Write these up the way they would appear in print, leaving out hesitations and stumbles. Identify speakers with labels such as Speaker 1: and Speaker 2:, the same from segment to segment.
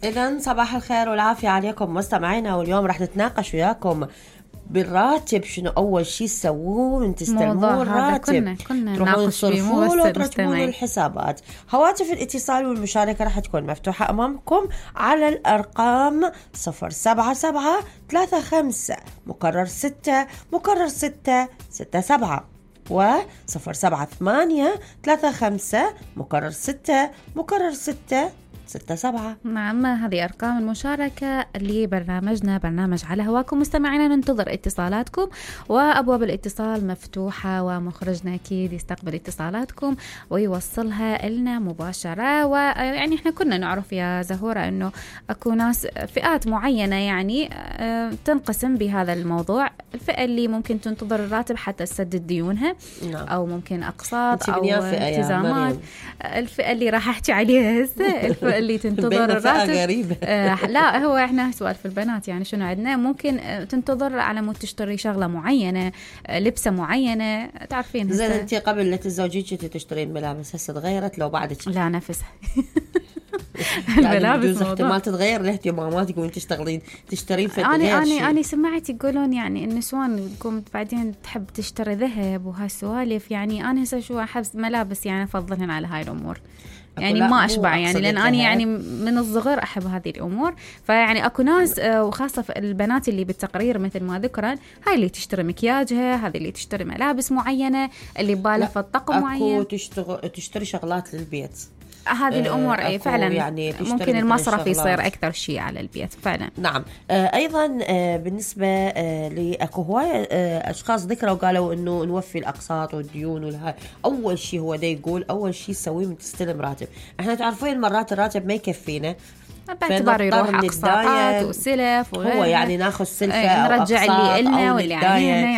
Speaker 1: إذن صباح الخير والعافية عليكم مستمعينا، واليوم رح نتناقش وياكم بالراتب. شنو أول شيء تسووه من تستلمون الراتب؟
Speaker 2: كنا
Speaker 1: تروحون تصرفون وترتبون
Speaker 2: الحسابات.
Speaker 1: الحسابات. هواتف الاتصال والمشاركة رح تكون مفتوحة أمامكم على الأرقام 077-35 مكرر 6 مكرر 667 و 078-35 مكرر 6 مكرر 667.
Speaker 2: نعم، هذه أرقام المشاركة لبرنامجنا، برنامج على هواكم. مستمعينا ننتظر اتصالاتكم، وأبواب الاتصال مفتوحة، ومخرجنا أكيد يستقبل اتصالاتكم ويوصلها لنا مباشرة. ويعني احنا كنا نعرف يا زهورة أنه أكو ناس فئات معينة يعني تنقسم بهذا الموضوع. الفئة اللي ممكن تنتظر الراتب حتى تسدد ديونها، أو ممكن أقساط أو التزامات. الفئة اللي راح أحكي عليها هسه الفئة اللي تنتظر الراتب. لا، هو احنا سؤال في البنات يعني شنو عندنا، ممكن تنتظر على مود تشتري شغلة معينة، لبسة معينة، تعرفين.
Speaker 1: زين انت قبل لا تتزوجين كنتي تشترين ملابس، هسه تغيرت لو بعدك؟
Speaker 2: لا، نفسها.
Speaker 1: الملابس يعني احتمال تتغير لاهتماماتك وانت تشترين فد غير شيء.
Speaker 2: أنا سمعت يقولون يعني النسوان تقوم بعدين تحب تشتري ذهب وهالسوالف. يعني أنا هسه شو أحب ملابس يعني أفضلهن على هاي الأمور. يعني ما أشبع يعني، لأن أنا يعني من الصغر أحب هذه الأمور. فيعني أكو ناس وخاصة البنات اللي بالتقرير مثل ما ذكرن، هاي اللي تشتري مكياجها، هذه اللي تشتري ملابس معينة، اللي بالها في الطقم معين.
Speaker 1: أكو تشتري شغلات للبيت.
Speaker 2: هذه الأمور فعلا
Speaker 1: يعني
Speaker 2: ممكن المصرف يصير أكثر شيء على البيت فعلا.
Speaker 1: نعم. أيضا بالنسبة لأكو هواية أشخاص ذكروا وقالوا إنه نوفي الأقساط والديون والهاي. أول شيء هو ده يقول أول شيء سويه من تستلم راتب. إحنا تعرفين مرات الراتب ما يكفينا،
Speaker 2: باعتبار يروح أقساطات وسلف وغيره.
Speaker 1: هو يعني ناخذ سلفة أو
Speaker 2: نرجع اللي إلنا واللي علينا،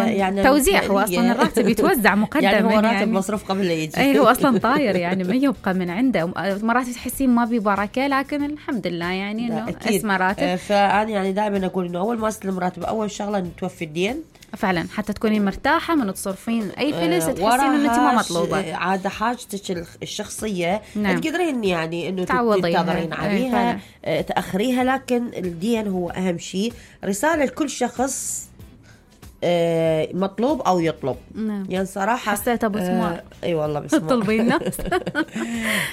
Speaker 2: يعني توزيع. هو أصلا الراتب يتوزع مقدما،
Speaker 1: يعني هو راتب مصروف قبل لا يجي.
Speaker 2: هو أصلا طاير يعني ما يبقى من عنده. مرات تحسين ما ببركة، لكن الحمد لله يعني إنه اسمه راتب.
Speaker 1: فأنا يعني دائما أقول إنه أول ما استلم راتب أول شغلة نتوفي الدين
Speaker 2: فعلا، حتى تكوني مرتاحة من تصرفين أي فلوس تحسين إنه أنت ما مطلوبة.
Speaker 1: عادة حاجتك الشخصية
Speaker 2: نعم.
Speaker 1: تقدرين يعني إنه تنتظرين عليها، تأخريها، لكن الدين هو أهم شيء. رسالة لكل شخص مطلوب أو يطلب. يعني صراحة
Speaker 2: حسيت أبو سمار.
Speaker 1: أي والله بسمار.
Speaker 2: طلبي الناس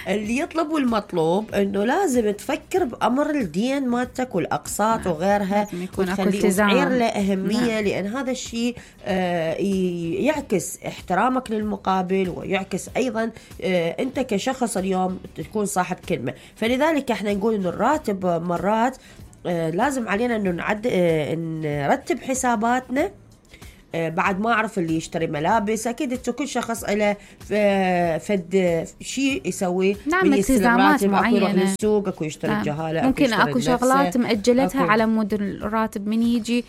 Speaker 1: اللي يطلب والمطلوب إنه لازم تفكر بأمر الدين مالتك والأقساط وغيرها، وتخليه له أهمية. لأن هذا الشيء يعكس احترامك للمقابل، ويعكس أيضا أنت كشخص اليوم تكون صاحب كلمة. فلذلك احنا نقول إنه الراتب مرات لازم علينا إنه نرتب حساباتنا. بعد ما أعرف اللي يشتري ملابس، أكيد كل شخص له فد شيء يسوي.
Speaker 2: نعم، التزامات معينة.
Speaker 1: أكو يروح للسوق، أكو يشتري الجهالة،
Speaker 2: ممكن أكو شغلات مأجلتها على مود الراتب من يجي،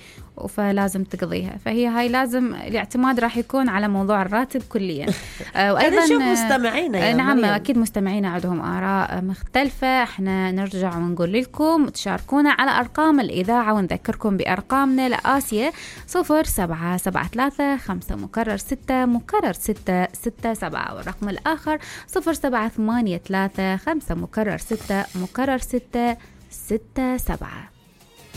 Speaker 2: فلازم تقضيها. فهي هاي لازم الاعتماد راح يكون على موضوع الراتب كليا.
Speaker 1: وأيضا شوف مستمعينا
Speaker 2: نعم مريم. أكيد مستمعينا عندهم آراء مختلفة. احنا نرجع ونقول لكم تشاركونا على أرقام الإذاعة، ونذكركم بأرقامنا لآسيا 0773 مكرر 6 مكرر 667، والرقم الآخر 0783 5 مكرر 6 مكرر 667.